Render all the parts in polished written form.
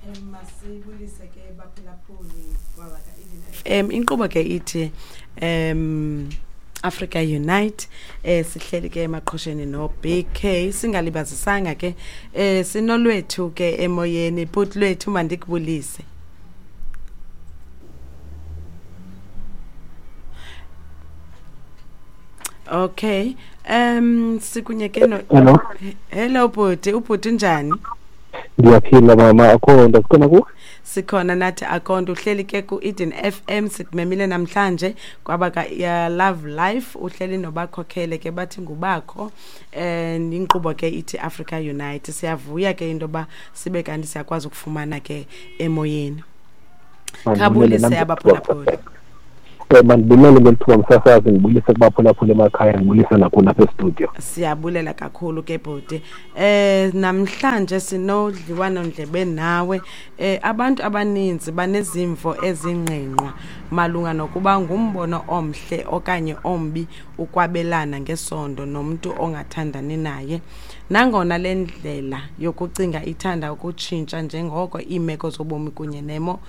Masibulise ke baphulaphuli kwabaka inkqubo ke ithi Africa Unite. Sihleli ke emaqhosheni no BK, singalibazisanga ke sinolwethu ke emoyeni. Bhuti lwethu, mandikubulise. Okay, sikunye ke no. Hello. Hello bhuti, ubhuti njani? Ndiyaphila mama, akho nto, sikhona kuwe? Sikhona nathi, akhonto. Uhleli ke ku-Eden FM, sikumemile namhlanje kwaba ka Love Life, uhleli nobakhokhele ke bathi ngubakho, inkqubo ke ithi Africa Unite. Siyavuya ke into yoba sibe kanti siyakwazi ukufumana ke emoyeni. Khabulise abaphulaphuli. Mandibulele ngeli thuba msasazi, ndibulise kubaphulaphula emakhaya, ndibulise nakuni apha estudio. Siyabulela kakhulu ke bhuti. Namhlanje sinodliwano ndlebe nawe. Abantu abaninzi banezimvo ezingqingqwa malunga nokuba ngumbono omhle okanye ombi ukwabelana ngesondo nomntu ongathandani naye. Nangona le ndlela yokucinga ithanda ukutshintsha njengoko iimeko zobomi kunye nemo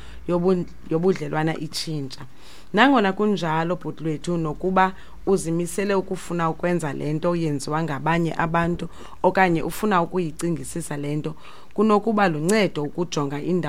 yobudlelwana itshintsha. Nangona kunjalo bhuti lwethu, nokuba uzimisele ukufuna ukwenza le nto yenziwa ngabanye abantu okanye ufuna ukuyicingisisa le nto, kunokuba luncedo ukujonga indawo.